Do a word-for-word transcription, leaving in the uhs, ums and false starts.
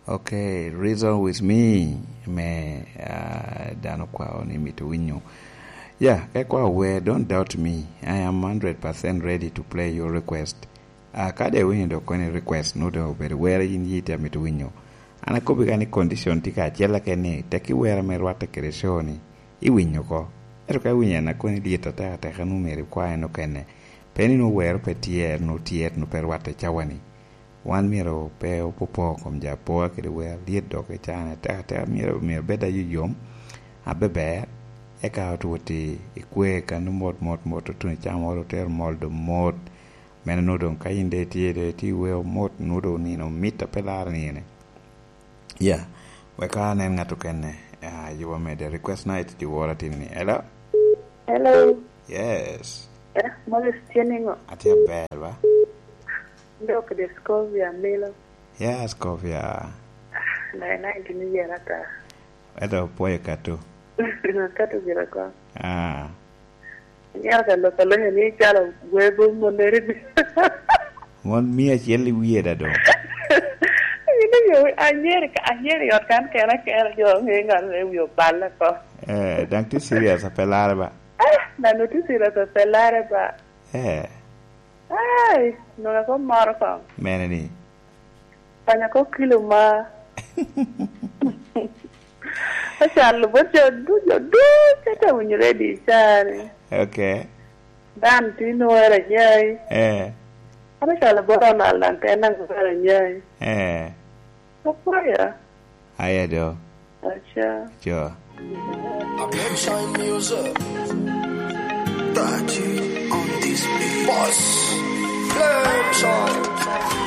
Okay, reason with me. Me, ah, dano kwao ni mito winyo. Yeah, ka ikwao wer, don't doubt me. I am hundred percent ready to play your request. Ah, ka de iwinyo dok koni request, nu dok obedo wer yin yite amito winyo. An akobbi ka ni condition tye ka acel keken ni, tek iwera me rwatte kede show ni, iwinyo oko. Ento ka iwinyo en akoni lyet atek ateka, nu myero ikwae nokene. Pe ni nu wero pe tyer, nu tyer, nu pe rwatte cawa ni. Wan myero pe opopo kom ja apoa kede wer, lyet dok i caa-ni atek ateka, myero, myero bed ayuyom, abeber, eka otwot i, i kwe kan mot, mot, mot, otuno i caa moro, otero mol do mot. Meno nu doŋ ka yin de itye, de itye i weo mot, nu doŋ nino mit a pe laro nino. Yeah. Wek anen ŋat okene, ah, yuba mede. Request night, dyewor atin ni. Hello? Hello. Yes. Eh, Morris, tye niŋo? Atye aber, ba? Dok Discovia, Milo. Yeah, Scovia. Nai, nai, gini yera ta. Ento pwoyo Kato. Kato gire ko. Ah. Yera ka lok alonyo ni calo wego moneri ni. Mon mia acel i wie da doŋ. Ino yo, anyeri, anyeri ot kan kena kena, jo ŋe ŋat me wi oballe ko. Eh, daŋ tye serious, ape lare ba? Ah, nano tye serious, ape lare ba? Eh. Ai, nwoŋo ko moro ko. Mene ni? Panya ko kilo ma. Acalo bot jo du-, jo ducu ate winyo ready i caa-ni. Okay. Dan tye nwoŋo ero anyai. Eh. An acalo bot Ronald daŋ te naŋ ero anyai. Eh. Apwoya. Aya do. Aca. Cho. Attention music. Thirty on this beat. Boss. Flames on